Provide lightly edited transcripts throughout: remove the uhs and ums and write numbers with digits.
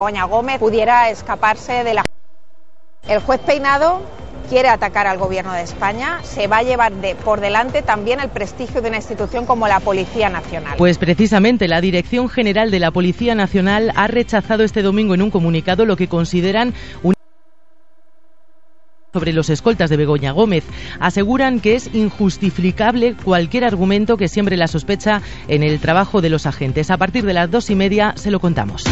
Begoña Gómez pudiera escaparse de la... El juez Peinado quiere atacar al gobierno de España, se va a llevar por delante también el prestigio de una institución como la Policía Nacional. Pues precisamente la Dirección General de la Policía Nacional ha rechazado este domingo en un comunicado lo que consideran un sobre los escoltas de Begoña Gómez. Aseguran que es injustificable cualquier argumento que siembre la sospecha en el trabajo de los agentes. A partir de las 2:30 se lo contamos.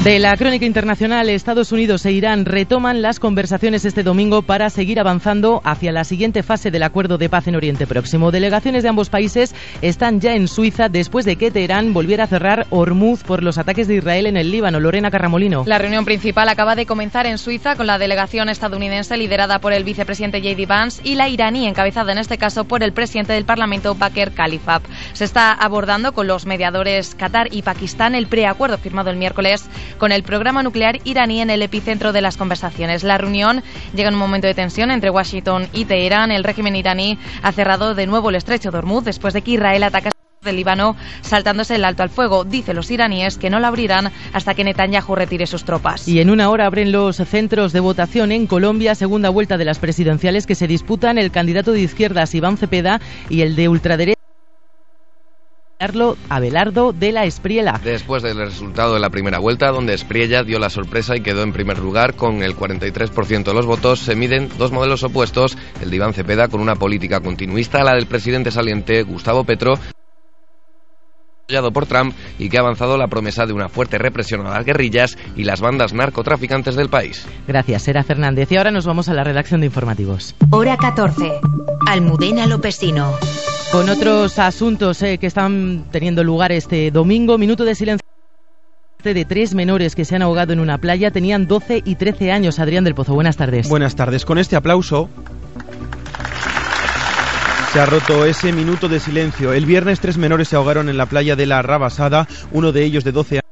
De la crónica internacional, Estados Unidos e Irán retoman las conversaciones este domingo para seguir avanzando hacia la siguiente fase del acuerdo de paz en Oriente Próximo. Delegaciones de ambos países están ya en Suiza después de que Teherán volviera a cerrar Hormuz por los ataques de Israel en el Líbano. Lorena Carramolino. La reunión principal acaba de comenzar en Suiza con la delegación estadounidense liderada por el vicepresidente J.D. Vance y la iraní encabezada en este caso por el presidente del Parlamento Baker Khalifab. Se está abordando con los mediadores Qatar y Pakistán el preacuerdo firmado el miércoles con el programa nuclear iraní en el epicentro de las conversaciones. La reunión llega en un momento de tensión entre Washington y Teherán. El régimen iraní ha cerrado de nuevo el estrecho de Hormuz después de que Israel atacara del Líbano saltándose el alto al fuego. Dicen los iraníes que no lo abrirán hasta que Netanyahu retire sus tropas. Y en una hora abren los centros de votación en Colombia, segunda vuelta de las presidenciales que se disputan el candidato de izquierdas Iván Cepeda y el de ultraderecha Abelardo de la Espriella. Después del resultado de la primera vuelta, donde Espriella dio la sorpresa y quedó en primer lugar con el 43% de los votos, se miden dos modelos opuestos, el de Iván Cepeda con una política continuista, la del presidente saliente Gustavo Petro, apoyado por Trump, y que ha avanzado la promesa de una fuerte represión a las guerrillas y las bandas narcotraficantes del país. Gracias, Sera Fernández. Y ahora nos vamos a la redacción de informativos. Hora 14. Almudena Lopesino. Con otros asuntos que están teniendo lugar este domingo, minuto de silencio de 3 menores que se han ahogado en una playa. Tenían 12 y 13 años. Adrián del Pozo, buenas tardes. Buenas tardes. Con este aplauso se ha roto ese minuto de silencio. El viernes 3 menores se ahogaron en la playa de la Rabasada, uno de ellos de 12 años.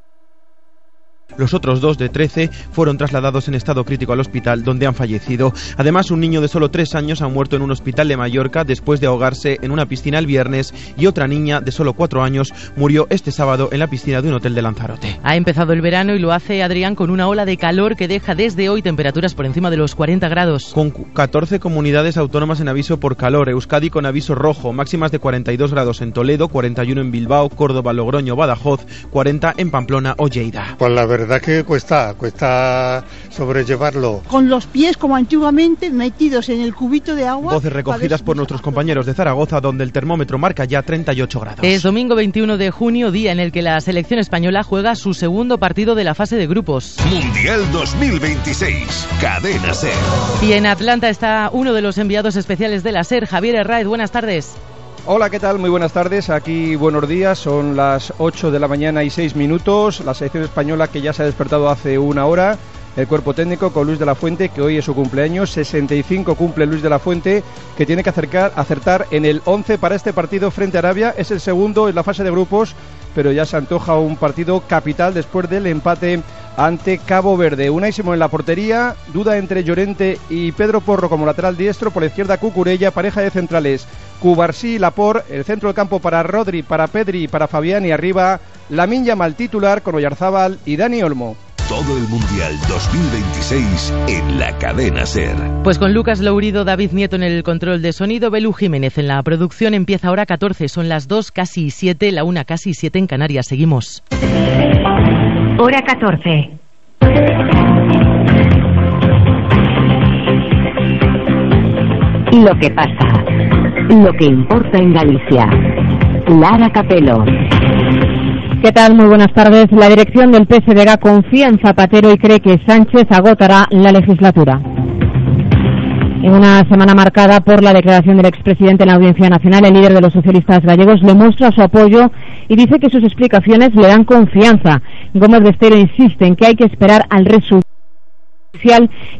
Los otros 2 de 13 fueron trasladados en estado crítico al hospital, donde han fallecido. Además, un niño de solo 3 años ha muerto en un hospital de Mallorca después de ahogarse en una piscina el viernes, y otra niña de solo 4 años murió este sábado en la piscina de un hotel de Lanzarote. Ha empezado el verano y lo hace, Adrián, con una ola de calor que deja desde hoy temperaturas por encima de los 40 grados. Con 14 comunidades autónomas en aviso por calor, Euskadi con aviso rojo, máximas de 42 grados en Toledo, 41 en Bilbao, Córdoba, Logroño, Badajoz, 40 en Pamplona o Lleida. Pues la verdad que cuesta sobrellevarlo. Con los pies como antiguamente metidos en el cubito de agua. Voces recogidas por nuestros compañeros de Zaragoza, donde el termómetro marca ya 38 grados. Es domingo 21 de junio, día en el que la selección española juega su segundo partido de la fase de grupos. Mundial 2026, Cadena SER. Y en Atlanta está uno de los enviados especiales de la SER, Javier Herráez. Buenas tardes. Hola, ¿qué tal? Muy buenas tardes. Aquí buenos días. Son las 8 de la mañana y 6 minutos. La selección española que ya se ha despertado hace una hora. El cuerpo técnico con Luis de la Fuente, que hoy es su cumpleaños. 65 cumple Luis de la Fuente, que tiene que acertar en el 11 para este partido frente a Arabia. Es el segundo en la fase de grupos, pero ya se antoja un partido capital después del empate ante Cabo Verde. Unai Simón en la portería, duda entre Llorente y Pedro Porro como lateral diestro, por la izquierda Cucurella, pareja de centrales Cubarsí y Laporte, el centro del campo para Rodri, para Pedri y para Fabián, y arriba Lamine Yamal titular con Oyarzábal y Dani Olmo. Todo el Mundial 2026 en la Cadena SER. Pues con Lucas Lourido, David Nieto en el control de sonido, Belú Jiménez en la producción. Empieza Hora 14, son las 2 casi 7, la 1 casi 7 en Canarias. Seguimos. Hora 14. Lo que pasa, lo que importa en Galicia. Lara Capelo. ¿Qué tal? Muy buenas tardes. La dirección del PSDG confía en Zapatero y cree que Sánchez agotará la legislatura. En una semana marcada por la declaración del expresidente en la Audiencia Nacional, el líder de los socialistas gallegos le muestra su apoyo y dice que sus explicaciones le dan confianza. Gómez Besteiro insiste en que hay que esperar al resultado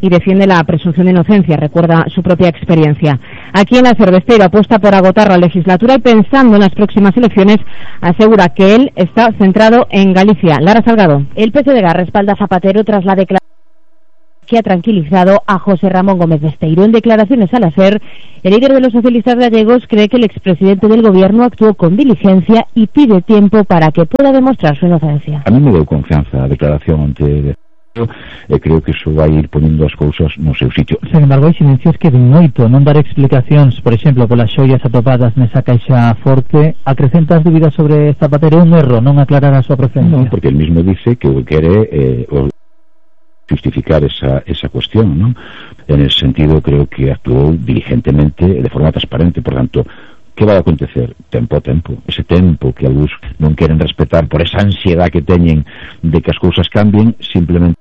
y defiende la presunción de inocencia, recuerda su propia experiencia. Aquí en la SER, Besteiro apuesta por agotar la legislatura y, pensando en las próximas elecciones, asegura que él está centrado en Galicia. Lara Salgado. El PSDG respalda a Zapatero tras la declaración que ha tranquilizado a José Ramón Gómez Besteiro. En declaraciones a la SER, el líder de los socialistas gallegos cree que el expresidente del gobierno actuó con diligencia y pide tiempo para que pueda demostrar su inocencia. A mí me deu confianza a declaración ante creo que iso vai ir ponendo as cousas no seu sitio. Sen embargo, hai silencios que ven moito, non dar explicacións, por exemplo, polas xoias atopadas nesa caixa forte, acrecenta as dúbidas sobre Zapatero, un erro non aclarar a súa procedencia. Non, porque el mismo dice que o que quere justificar esa cuestión, ¿no? En ese sentido creo que actuou diligentemente, de forma transparente, por tanto, que vai acontecer? Tempo a tempo. Ese tempo que algúns non queren respetar por esa ansiedade que teñen de que as cousas cambien, simplemente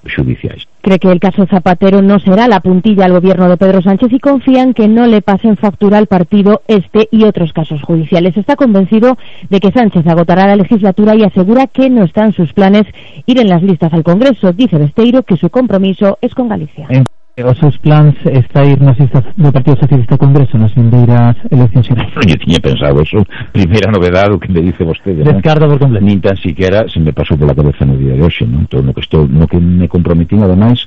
judiciais. Cree que el caso Zapatero no será la puntilla al gobierno de Pedro Sánchez y confía en que no le pasen factura al partido este y otros casos judiciales. Está convencido de que Sánchez agotará la legislatura y asegura que no está en sus planes ir en las listas al Congreso. Dice Besteiro que su compromiso es con Galicia. Os seus plans está ir nas listas do Partido Socialista ao Congreso nas vindeiras eleccións xerais? Eu tiña pensado eso, primeira novedade o que me dice vostede. Descarta por completo. Nin tan siquiera se me pasou pola cabeza no día de hoxe, non? Todo no que me comprometín, ademais,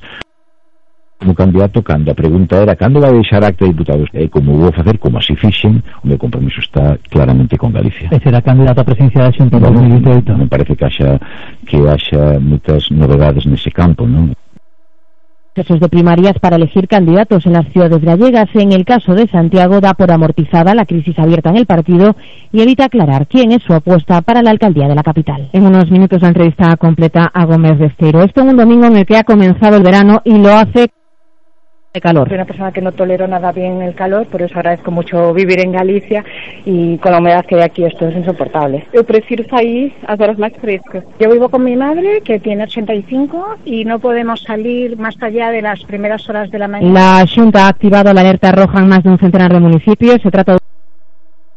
como candidato, cando a pregunta era cando vai deixar acta de diputados, como vou facer, como así fixen, o meu compromiso está claramente con Galicia. E será candidato a presidencia da Xunta en 2018? Me parece que haxa moitas novedades nese campo, non? Procesos de primarias para elegir candidatos en las ciudades gallegas. En el caso de Santiago, da por amortizada la crisis abierta en el partido y evita aclarar quién es su apuesta para la alcaldía de la capital. En unos minutos la entrevista completa a Gómez Besteiro. Esto en un domingo en el que ha comenzado el verano y lo hace de calor. Soy una persona que no tolero nada bien el calor, por eso agradezco mucho vivir en Galicia y con la humedad que hay aquí esto es insoportable. Yo prefiero salir a horas más frescas. Yo vivo con mi madre que tiene 85 y no podemos salir más allá de las primeras horas de la mañana. La Xunta ha activado la alerta roja en más de un centenar de municipios. Se trata de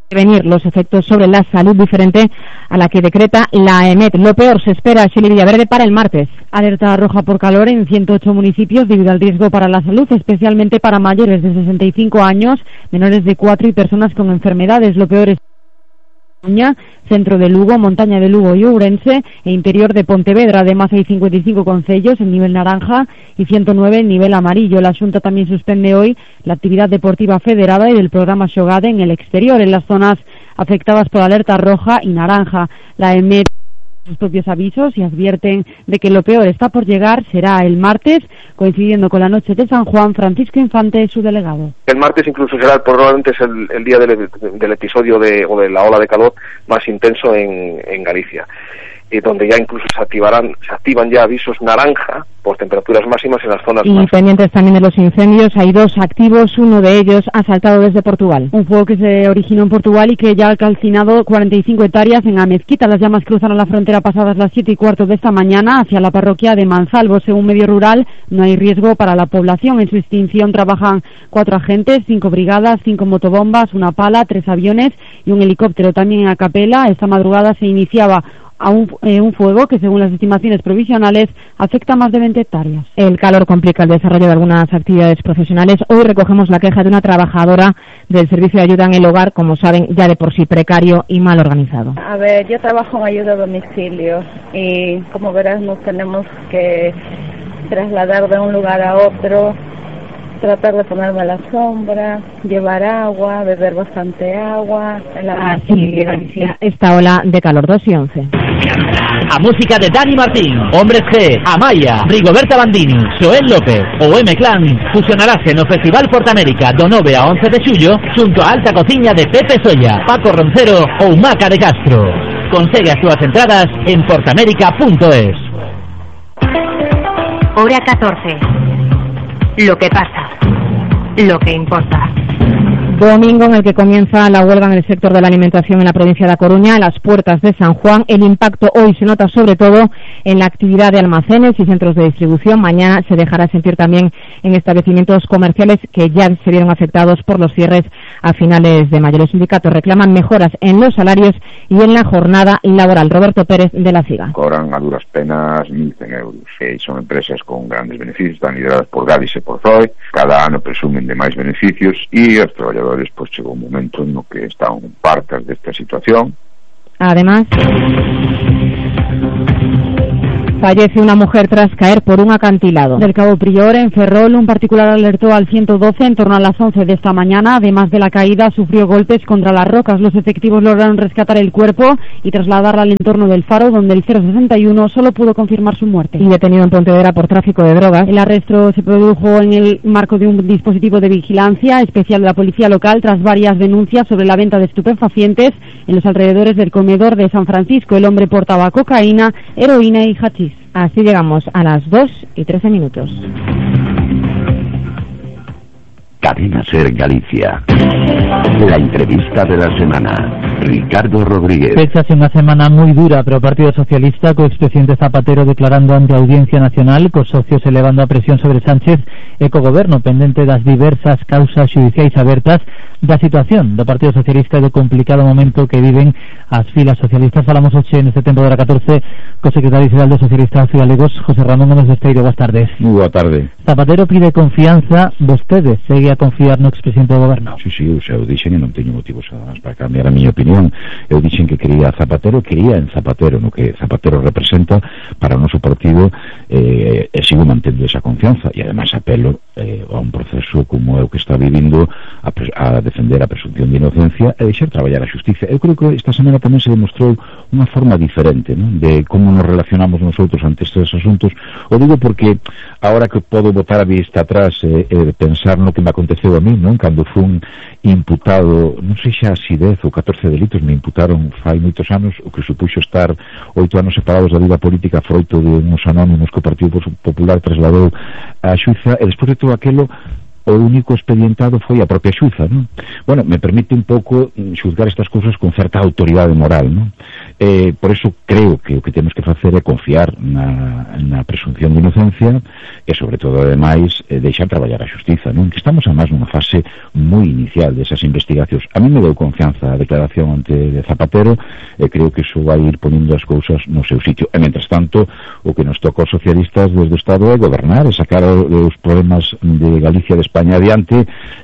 prevenir los efectos sobre la salud diferente a la que decreta la EMET. Lo peor se espera, Shirley Villaverde, para el martes. Alerta roja por calor en 108 municipios debido al riesgo para la salud, especialmente para mayores de 65 años, menores de 4 y personas con enfermedades. Lo peor es centro de Lugo, montaña de Lugo y Ourense e interior de Pontevedra. Además hay 55 concellos en nivel naranja y 109 en nivel amarillo. La Xunta también suspende hoy la actividad deportiva federada y del programa Xogade en el exterior, en las zonas afectadas por alerta roja y naranja. La EMET sus propios avisos y advierten de que lo peor está por llegar. Será el martes, coincidiendo con la noche de San Juan. Francisco Infante es su delegado. El martes incluso será probablemente es el día del episodio o de la ola de calor más intenso en Galicia, y donde ya incluso se activan ya avisos naranja por temperaturas máximas en las zonas y más pendientes también de los incendios. Hay 2 activos, uno de ellos ha saltado desde Portugal. Un fuego que se originó en Portugal y que ya ha calcinado 45 hectáreas en Amezquita. Las llamas cruzaron la frontera pasadas las 7:15 de esta mañana hacia la parroquia de Mansalvo. Según Medio Rural, no hay riesgo para la población. En su extinción trabajan 4 agentes, 5 brigadas, 5 motobombas, una pala, 3 aviones y un helicóptero. También en Acapela, esta madrugada se iniciaba un fuego que, según las estimaciones provisionales, afecta a más de 20 hectáreas. El calor complica el desarrollo de algunas actividades profesionales. Hoy recogemos la queja de una trabajadora del servicio de ayuda en el hogar, como saben, ya de por sí precario y mal organizado. A ver, yo trabajo en ayuda a domicilio y, como verás, nos tenemos que trasladar de un lugar a otro, tratar de ponerme a la sombra, llevar agua, beber bastante agua. Esta ola de calor. 2 y 11. A música de Dani Martín, Hombres G, Amaya, Rigoberta Bandini, Joel López ou M-Clan fusionarase no Festival Portamérica do 9 a 11 de xullo xunto a Alta Cociña de Pepe Solla, Paco Roncero ou Maca de Castro. Consegue as túas entradas en portamérica.es. Hora 14. Lo que pasa, lo que importa. Domingo en el que comienza la huelga en el sector de la alimentación en la provincia de A Coruña, a las puertas de San Juan. El impacto hoy se nota sobre todo en la actividad de almacenes y centros de distribución. Mañana se dejará sentir también en establecimientos comerciales que ya se vieron afectados por los cierres a finales de mayo. Los sindicatos reclaman mejoras en los salarios y en la jornada laboral. Roberto Pérez, de la CIGA. Cobran a duras penas 1.100 euros. Son empresas con grandes beneficios, están lideradas por Gadis e por Zoe. Cada ano presumen de máis beneficios e os traballadores pues chegou un momento no que están partas desta situación. Además, Fallece una mujer tras caer por un acantilado. Del Cabo Prior, en Ferrol, un particular alertó al 112 en torno a las 11 de esta mañana. Además de la caída, sufrió golpes contra las rocas. Los efectivos lograron rescatar el cuerpo y trasladarla al entorno del faro, donde el 061 solo pudo confirmar su muerte. Y detenido en Pontevedra por tráfico de drogas. El arresto se produjo en el marco de un dispositivo de vigilancia especial de la policía local tras varias denuncias sobre la venta de estupefacientes en los alrededores del comedor de San Francisco. El hombre portaba cocaína, heroína y hachís. Así llegamos a las 2:13. Cadena Ser Galicia. La entrevista de la semana. Ricardo Rodríguez. Pechase una semana moi dura para o Partido Socialista, co expresidente Zapatero declarando ante a Audiencia Nacional, cos socios elevando a presión sobre Sánchez e co goberno pendente das diversas causas xudiciais abertas da situación do Partido Socialista e do complicado momento que viven as filas socialistas. Falamos hoxe neste tempo de hora 14 co secretario xeral do Socialistas Galegos, José Ramón Gómez Besteiro. Boas tardes. Moi boa tarde. Zapatero pide confianza, vostede segue a confiar no expresidente do goberno? Sí, eu dixen e non teño motivos para cambiar a miña opinión. Eu dixen que quería Zapatero en Zapatero, no que Zapatero representa para o noso partido, e sigo mantendo esa confianza e ademais apelo a un proceso como é o que está vivindo a defender a presunción de inocencia e deixar traballar a xustiza. Eu creo que esta semana tamén se demostrou unha forma diferente, non? De como nos relacionamos nosotros ante estes asuntos. O digo porque agora que podo botar a vista atrás e pensar no que me aconteceu a mí, non? Cando fun imputado, non sei xa si 10 ou 14 delitos me imputaron fai moitos anos, o que supuxo estar 8 anos separados da vida política froito de uns anónimos que o Partido Popular trasladou a xuiza, e despois de todo aquelo o único expedientado foi a propia xuza, non? Bueno, me permite un pouco xuzgar estas cousas con certa autoridade moral, non? Por eso creo que o que temos que facer é confiar na presunción de inocencia e, sobre todo, ademais, deixar traballar a xustiza, non? Que estamos, además, nunha fase moi inicial desas investigacións. A mí me deu confianza a declaración ante Zapatero e creo que iso vai ir poniendo as cousas no seu sitio. E, mentras tanto, o que nos toca aos socialistas desde o Estado é gobernar e sacar os problemas de Galicia de España adiante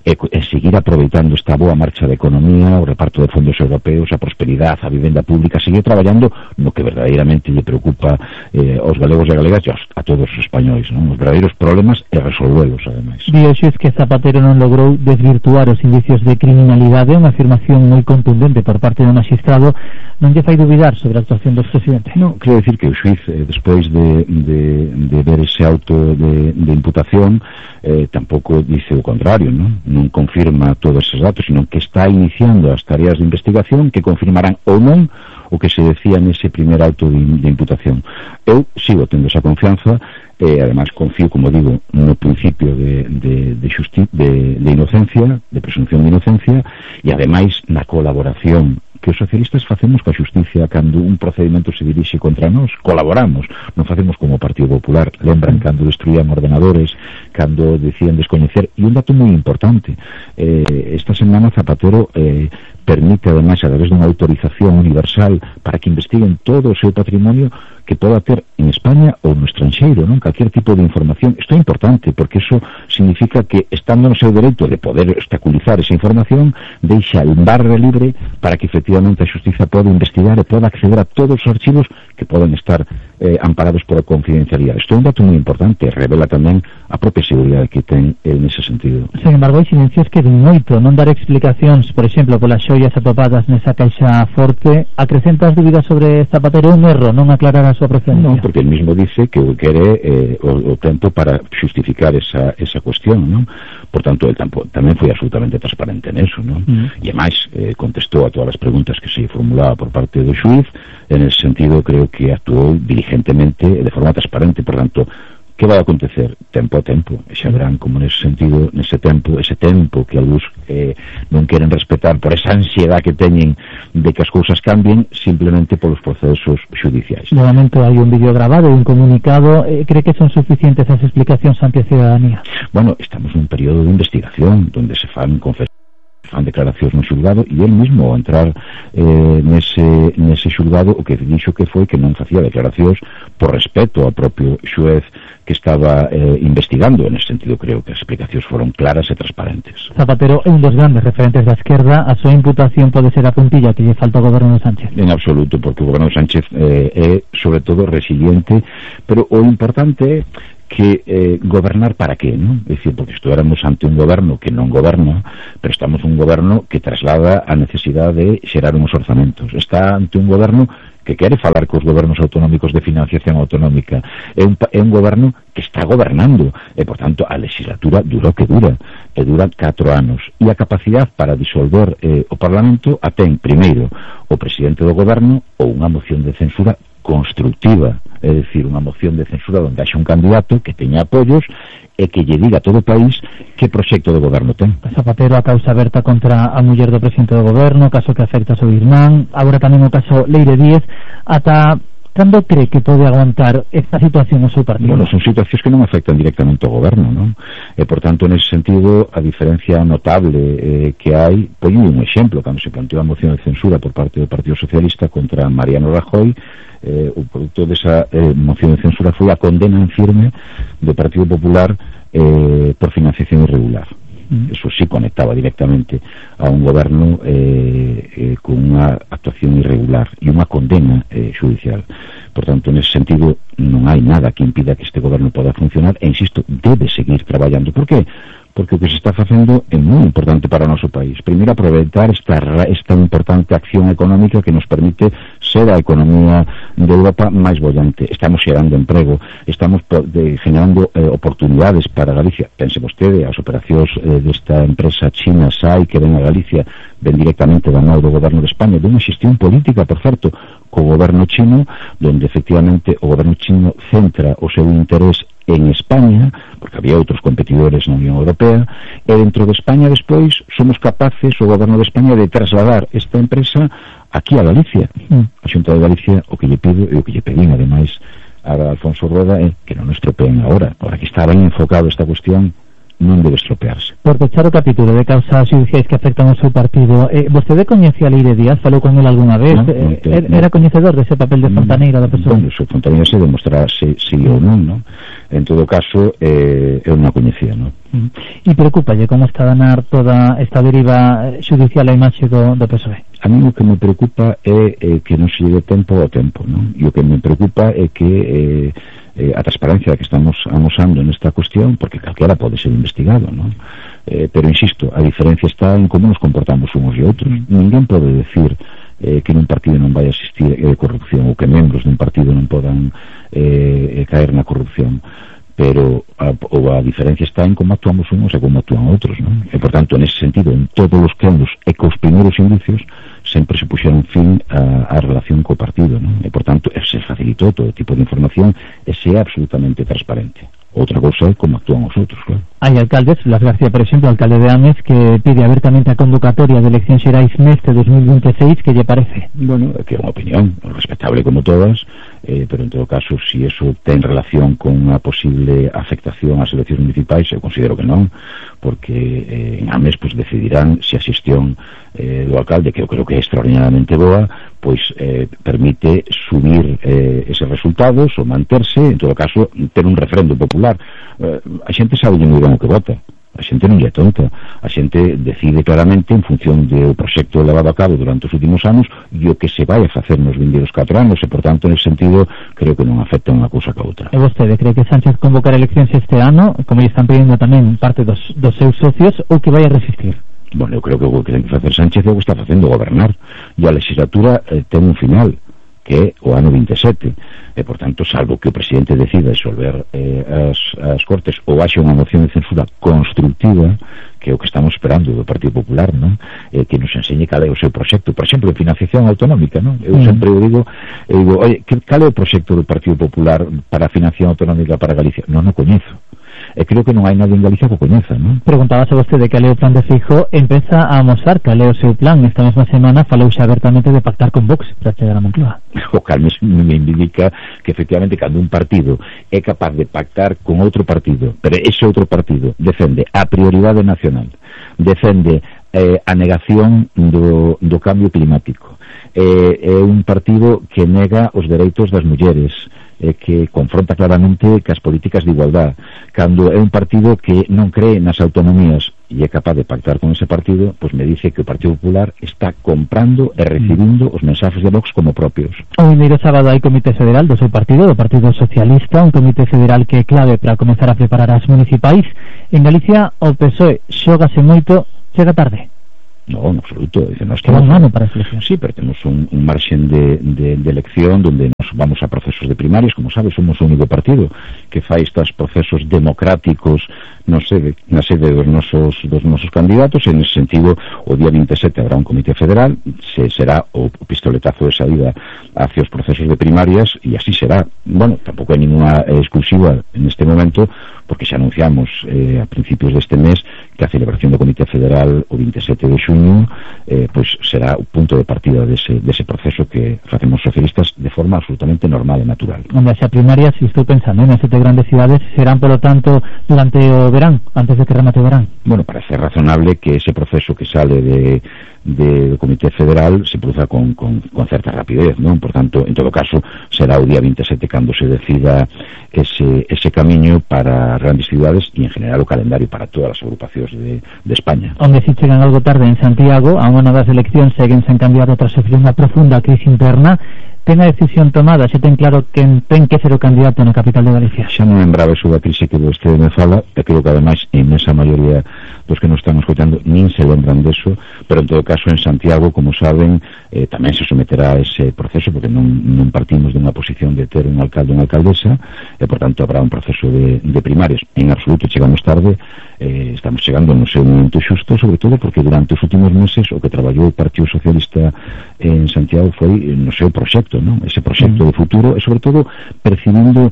e seguir aproveitando esta boa marcha da economía, o reparto de fondos europeos, a prosperidade, a vivenda pública, seguir traballando no que verdadeiramente lle preocupa aos galegos e galegas e a todos os españois, non? Os verdadeiros problemas e resolvelos, ademais. Dixes que Zapatero non logrou desvirtuar os indicios de criminalidade, unha afirmación moi contundente por parte do magistrado. Non lle fai dubidar sobre a actuación do expresidente? Non, quero dicir que o xuiz, despois de ver ese auto de imputación, tampouco dice o contrario, non confirma todos esos datos, sino que está iniciando as tareas de investigación que confirmarán ou non o que se decía nese primer auto de imputación. Eu sigo tendo esa confianza e ademais confío, como digo, no principio de inocencia, de presunción de inocencia, e ademais na colaboración que os socialistas facemos coa xusticia cando un procedimento se dirixe contra nós. Colaboramos, non facemos como o Partido Popular. Lembran cando destruían ordenadores, cando decían descoñecer. E un dato moi importante, esta semana Zapatero permite ademais a través dunha autorización universal para que investiguen todo o seu patrimonio que poda ter en España ou no estranxeiro, non? Calquer tipo de información. Isto é importante porque iso significa que, estando no seu dereito de poder obstaculizar esa información, deixa el barra libre para que efectivamente a xustiza poda investigar e poda acceder a todos os archivos que poden estar amparados por a confidencialidade. Isto é un dato moi importante, revela tamén a propia seguridade que ten nese sentido. Sin embargo, hai silencios que ven moito, non dar explicacións, por exemplo, polas xoias atopadas nesa caixa forte, acrecenta as dúbidas sobre Zapatero, un erro non aclarar a súa procedencia. Non, porque el mismo dice que o quere o tempo para justificar esa cuestión, non? Por tanto, el tamén foi absolutamente transparente en eso, non? E ademais contestou a todas as preguntas que se formulaba por parte do xuiz. En ese sentido, creo que actuou diligentemente e de forma transparente. Por tanto, que vai acontecer? Tempo a tempo, e xa verán como nese sentido, ese tempo que algúns non queren respetar por esa ansiedade que teñen de que as cousas cambien simplemente polos procesos xudiciais. De momento hai un vídeo grabado e un comunicado. Cree que son suficientes as explicacións ante a ciudadanía? Bueno, estamos nun período de investigación donde se fan declaracións no xulgado, e el mismo ao entrar nese xulgado o que dixo que foi que non facía declaracións por respeto ao propio xuez que estaba investigando. En ese sentido creo que as explicacións foron claras e transparentes. Zapatero é un dos grandes referentes da esquerda. A súa imputación pode ser a puntilla que lle falta ao goberno de Sánchez? En absoluto, porque o goberno de Sánchez é sobre todo resiliente, pero o importante é que gobernar para qué, ¿no? Es decir, porque estuviéramos ante un goberno que non goberna, pero estamos un goberno que traslada a necesidade de xerar uns orzamentos. Está ante un goberno que quere falar cos gobernos autonómicos de financiación autonómica. É un goberno que está gobernando e, por tanto, a legislatura dura o que dura, e dura 4 anos, e a capacidade para disolver o Parlamento a ten, primeiro, o presidente do goberno ou unha moción de censura constructiva, é dicir, unha moción de censura onde haxa un candidato que teña apoios e que lle diga a todo o país que proxecto de goberno ten. Zapatero, a causa aberta contra a muller do presidente do goberno, caso que afecta a seu irmán, agora tamén o caso Leire Díez. Ata cando cree que pode aguantar esta situación o seu partido? Bueno, son situacións que non afectan directamente ao goberno, non? E, por tanto, nese sentido, a diferencia notable que hai, poño un exemplo, cando se planteou a moción de censura por parte do Partido Socialista contra Mariano Rajoy, o producto desa moción de censura foi a condena en firme do Partido Popular por financiación irregular. Eso sí conectaba directamente a un goberno con unha actuación irregular e unha condena judicial. Por tanto, nese sentido, non hai nada que impida que este goberno poda funcionar e, insisto, debe seguir traballando. Por qué? Porque o que se está facendo é moi importante para o noso país. Primeiro, aproveitar esta importante acción económica que nos permite ser a economía de Europa máis bollante. Estamos xerando emprego, estamos generando oportunidades para Galicia. Pense vostede, as operacións desta empresa china SAI que ven a Galicia, ven directamente da mão do goberno de España, dunha xestión política, por certo, co goberno chino, donde efectivamente o goberno chino centra o seu interés en España, porque había outros competidores na Unión Europea, e dentro de España despois somos capaces, o goberno de España, de trasladar esta empresa aquí a Galicia. A Xunta de Galicia o que lle pido e o que lle pedín ademais a Alfonso Rueda é que non nos estropeen ahora que está ben enfocado esta cuestión, non debe estropearse. Por pechar o capítulo de causas xudiciais que afectan ao seu partido, vostede coñecía a Leire Díaz? Falou con ele algunha vez? Era coñecedor dese papel de fontaneira da persoa? Bueno, se fontaneira se demostrará se sí ou non, non? En todo caso, eu non a coñecía, non? E preocupalle como está a danar toda esta deriva xudicial a imaxe do PSOE? A mí o que me preocupa é que non se lleve tempo ao tempo, non? E o que me preocupa é que a transparencia que estamos amosando nesta cuestión, porque calquera pode ser investigado, non? Pero insisto, a diferencia está en como nos comportamos uns e outros. Ninguén pode decir que nun partido non vai existir corrupción ou que membros dun partido non podan caer na corrupción, pero a diferencia está en como actuamos uns e como actúan outros, non? E, por tanto, nese sentido, en todos os casos e cos primeiros indicios sempre se puxeron fin a relación co partido, non? E, por tanto, se facilitou todo tipo de información e se é absolutamente transparente. Outra cousa é como actúan os outros, claro. Hai alcaldes, Blas García, por exemplo, alcalde de Ames, que pide abertamente a convocatoria de eleccións xerais neste 2026, que lle parece? Bueno, que é unha opinión respetable como todas, pero en todo caso, si eso ten relación con unha posible afectación ás eleccións municipais, eu considero que non, porque en Ames pues, decidirán se a xestión do alcalde, que eu creo que é extraordinariamente boa, pois permite subir eses resultados ou manterse, en todo caso, ter un referendo popular. A xente sabe moi ben o que vota, a xente non é tonta, a xente decide claramente en función do proxecto levado a cabo durante os últimos anos e o que se vai a facer nos vindeiros 4 anos, e por tanto, nesse sentido, creo que non afecta unha cousa ca outra. E vostede cree que Sánchez convocará eleccións este ano, como lle están pedindo tamén parte dos seus socios, ou que vai a resistir? Bueno, eu creo que o que ten que facer Sánchez é o que está facendo, gobernar, e a legislatura ten un final, que é o ano 27, e, por tanto, salvo que o presidente decida disolver as Cortes ou haxa unha moción de censura constructiva, que é o que estamos esperando do Partido Popular, non? Que nos enseñe cal é o seu proxecto, por exemplo, de financiación autonómica, non? Eu sempre digo, oye, cal é o proxecto do Partido Popular para a financiación autonómica para Galicia? Non o coñezo. E creo que non hai nadie en Galicia que o coñeza, non? Preguntábase vostede cal é o plan de Feijóo, empeza a amosar cal é o seu plan. Esta mesma semana falouse abertamente de pactar con Vox para chegar a Moncloa. O cal me indica que efectivamente cando un partido é capaz de pactar con outro partido, pero ese outro partido defende a prioridade nacional, defende a negación do cambio climático, é un partido que nega os dereitos das mulleres, que confronta claramente cas políticas de igualdad. Cando é un partido que non cree nas autonomías e é capaz de pactar con ese partido, pois me dice que o Partido Popular está comprando e recibindo os mensajes de Vox como propios. O vindeiro sábado hai comité federal do seu partido, do Partido Socialista, un comité federal que é clave para comenzar a preparar as municipais. En Galicia o PSOE xógase moito, chega tarde. No, en absoluto. Nos queda un ano para a selección. Sí, pero tenemos un margen de elección donde nos vamos a procesos de primarias. Como sabes, somos o único partido que fai estos procesos democráticos na sede dos nosos candidatos. En ese sentido, o día 27 habrá un comité federal, será o pistoletazo de saída hacia os procesos de primarias, e así será. Bueno, tampouco hai ninguna exclusiva en este momento, porque xa anunciamos a principios deste mes que a celebración do Comité Federal o 27 de xuño pois será o punto de partida dese proceso que facemos socialistas de forma absolutamente normal e natural. Onde xa primarias, se estou pensando en 7 grandes cidades, serán, polo tanto, durante o verán, antes de que remate o verán. Bueno, parece razonable que ese proceso que sale do Comité Federal se produza con certa rapidez, non? Por tanto, en todo caso, será o día 27 cando se decida ese camiño para grandes cidades e en general o calendario para todas as agrupacións de España. Onde si chegan algo tarde en Santiago, a unha das eleccións seguen sen cambiar tras sufrir unha profunda crise interna. Ten a decisión tomada, xa ten claro quen ten que ser o candidato na capital de Galicia? Xa non lembraba eso da crise que vostede me fala, e creo que ademais en esa maioría dos que nos están escoitando nin se lembran deso, pero en todo caso en Santiago, como saben, tamén se someterá a ese proceso, porque non partimos dunha posición de ter un alcalde ou unha alcaldesa, e por tanto habrá un proceso de primarias. En absoluto chegamos tarde, estamos chegando no seu momento xusto, sobre todo porque durante os últimos meses o que traballou o Partido Socialista en Santiago foi no seu proxecto, non? Ese proxecto de futuro, e sobre todo percibindo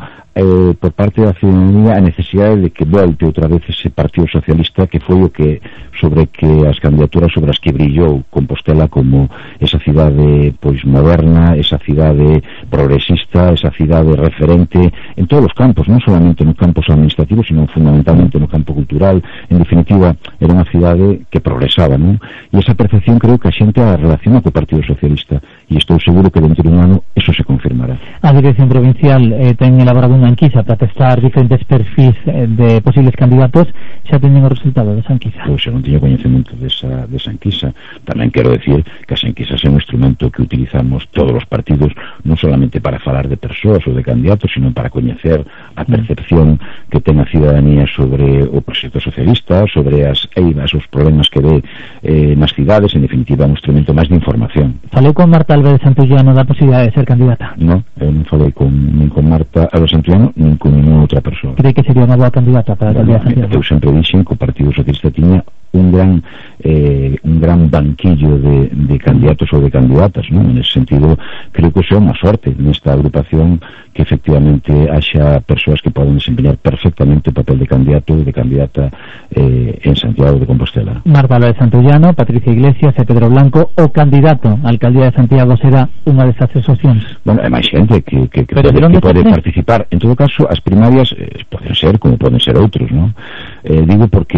por parte da ciudadanía a necesidade de que volte outra vez ese Partido Socialista que foi o que sobre que as candidaturas sobre as que brillou Compostela como esa cidade pois moderna, esa cidade progresista, esa cidade referente en todos os campos, non solamente nos campos administrativos, sino fundamentalmente no campo cultural. En definitiva, era unha cidade que progresaba, non? E esa percepción creo que a xente a relaciona co Partido Socialista, e estou seguro que dentro de un ano eso se confirmará. A Dirección Provincial ten elaborado unha enquisa para testar diferentes perfis de posibles candidatos. Xa teñen o resultado desa enquisa? Pois eu non teño coñecemento desa enquisa. Tamén quero decir que as enquisas é un instrumento que utilizamos todos os partidos, non solamente para falar de persoas ou de candidatos, sino para coñecer a percepción que ten a ciudadanía sobre o proxecto socialista, sobre as eivas, os problemas que ve nas cidades. En definitiva, un instrumento máis de información. Falou con Marta Álvarez Santullano da posibilidade de ser candidata? Non, eu non falei nin con Marta Álvarez Santullano nin con ninguna outra persoa. Cree que sería unha boa candidata para a alcaldía de Santiago? Eu sempre dixen que o Partido Socialista tiña un gran banquillo de candidatos ou de candidatas, non? En ese sentido, creo que é unha sorte nesta agrupación que efectivamente haxa persoas que poden desempeñar perfectamente o papel de candidato ou de candidata en Santiago de Compostela. Marta Álvarez Santullano, Patricia Iglesias e Pedro Blanco, o candidato á alcaldía de Santiago será unha desas tres opcións. Bueno, hai máis xente que pode participar. En todo caso, as primarias poden ser como poden ser outros, non? Digo porque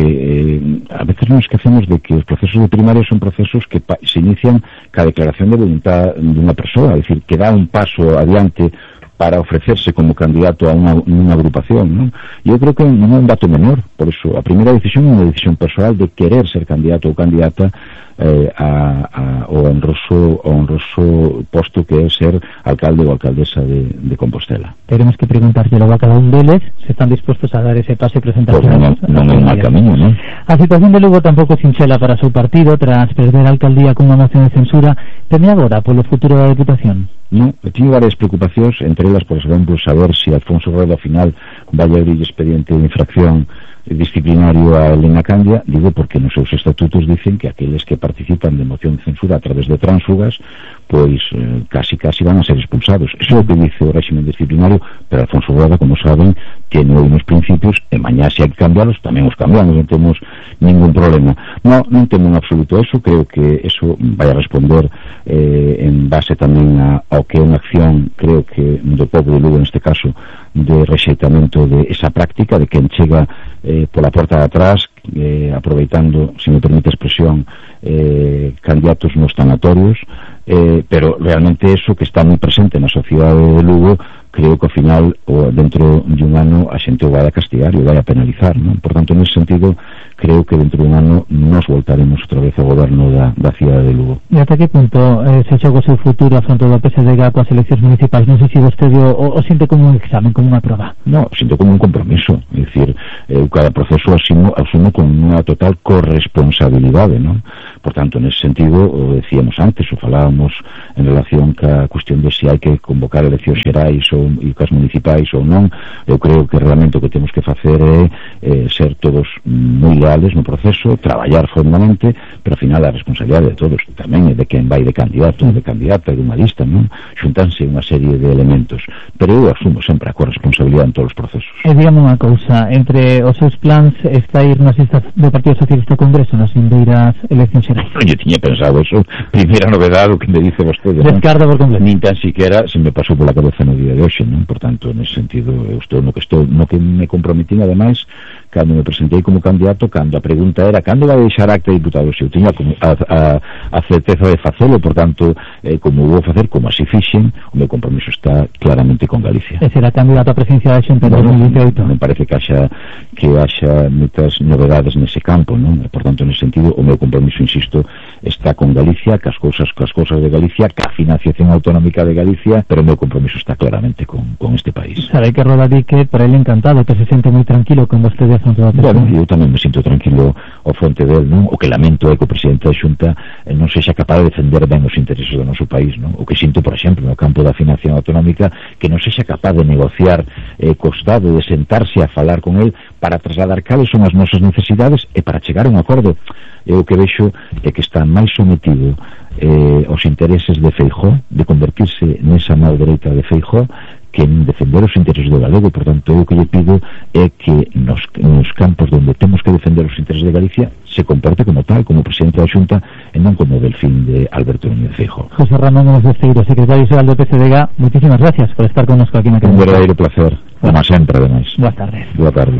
a veces nos esquecemos de que os procesos de primarias son procesos que se inician ca declaración de voluntad dunha persoa, é dicir, que dá un paso adiante para ofrecerse como candidato a unha agrupación, non? E eu creo que non é un dato menor. Por iso, a primeira decisión é unha decisión personal de querer ser candidato ou candidata ao honroso posto que é ser alcalde ou alcaldesa de Compostela. Teremos que preguntárselo a cada un deles se están dispostos a dar ese pase presentación. Pues non é un mal camiño, non? A situación de Lugo tampouco sinxela para o seu partido tras perder a alcaldía con unha moción de censura. Teme agora polo futuro da Deputación? Non, teño varias preocupacións, entre elas, por exemplo, saber se Alfonso Rueda ao final vai abrir expediente de infracción disciplinario a Elena Candia. Digo porque nos seus estatutos dicen que aqueles que participan de moción de censura a través de tránsfugas pois casi van a ser expulsados. Eso é o que dice o régimen disciplinario, pero Alfonso Rueda, como saben, ten uns principios e mañá se hai que cambiarlos, tamén os cambiamos, non temos ningún problema. Non temo en absoluto eso. Creo que eso vai a responder en base tamén ao que é unha acción, creo que do povo de Lugo neste caso, de rexeitamento de esa práctica de quen chega pola porta de atrás, aproveitando, se me permite a expresión, candidatos nos tanatorios, pero realmente eso que está moi presente na sociedade de Lugo creo que ao final o dentro de un ano a xente o vai a castigar e o vai a penalizar, non? Por tanto, nesse sentido, creo que dentro de un ano nos voltaremos outra vez ao goberno da cidade de Lugo. E ata que punto se xoga o seu futuro afronto do PSDG coas eleccións municipais? Non sei se vostede o sinto como un examen, como unha prova. No, sinto como un compromiso, é dicir, cada proceso asumo con unha total corresponsabilidade, non? Por tanto, nesse sentido, o decíamos antes, o falábamos en relación ca cuestión de se hai que convocar eleccións xerais e cas municipais ou non. Eu creo que realmente o que temos que facer é ser todos moi leales no proceso, traballar fondamente, pero ao final a responsabilidade de todos tamén é de quen vai de candidato, de candidata, de unha lista, non? Xuntanse unha serie de elementos, pero eu asumo sempre a corresponsabilidade en todos os procesos. E dígame unha cousa, entre os seus plans está ir nas listas do Partido Socialista ao Congreso nas vindeiras eleccións xerais? Eu tiña pensado eso, primeira novedade o que me dice vostede, non? Descarta por completo. Nin tan siquiera se me pasou pola cabeza no día de hoxe, non? Por tanto, nesse sentido, eu estou no que me comprometín, ademais, cando me presentei como candidato, cando a pregunta era cando vai deixar acta de diputado, se eu tiña a certeza de facelo, por tanto, como vou facer, como así fixen, o meu compromiso está claramente con Galicia. E será candidato a presidencia da Xunta en 2018? Me parece que haxa moitas novedades nese campo, non? Por tanto, nese sentido, o meu compromiso, insisto, está con Galicia, cas cousas de Galicia, ca financiación autonómica de Galicia, pero o meu compromiso está claramente con este país. Sabe que Roda di que por ele encantado, que se sente moi tranquilo con vostede. Bueno, eu tamén me sinto tranquilo ao fronte del, non? O que lamento é que o presidente da Xunta non sexa capaz de defender ben os intereses do noso país, non? O que sinto, por exemplo, no campo da financiación autonómica, que non sexa capaz de negociar co Estado, de sentarse a falar con el para trasladar cales son as nosas necesidades e para chegar a un acordo. Eu o que vexo é que está máis sometido aos intereses de Feijóo, de convertirse nesa mão dereita de Feijóo, que en defender os intereses do galego. Por tanto, eu o que lle pido é que nos campos onde temos que defender os intereses de Galicia se comporte como tal, como presidente da Xunta e non como delfín de Alberto Núñez Feijóo. José Ramón Gómez Besteiro, secretario xeral do PSDG, moitísimas gracias por estar connosco aquí na Cadena. Un verdadeiro placer, como sempre, ademais. Boas tardes. Boa tarde.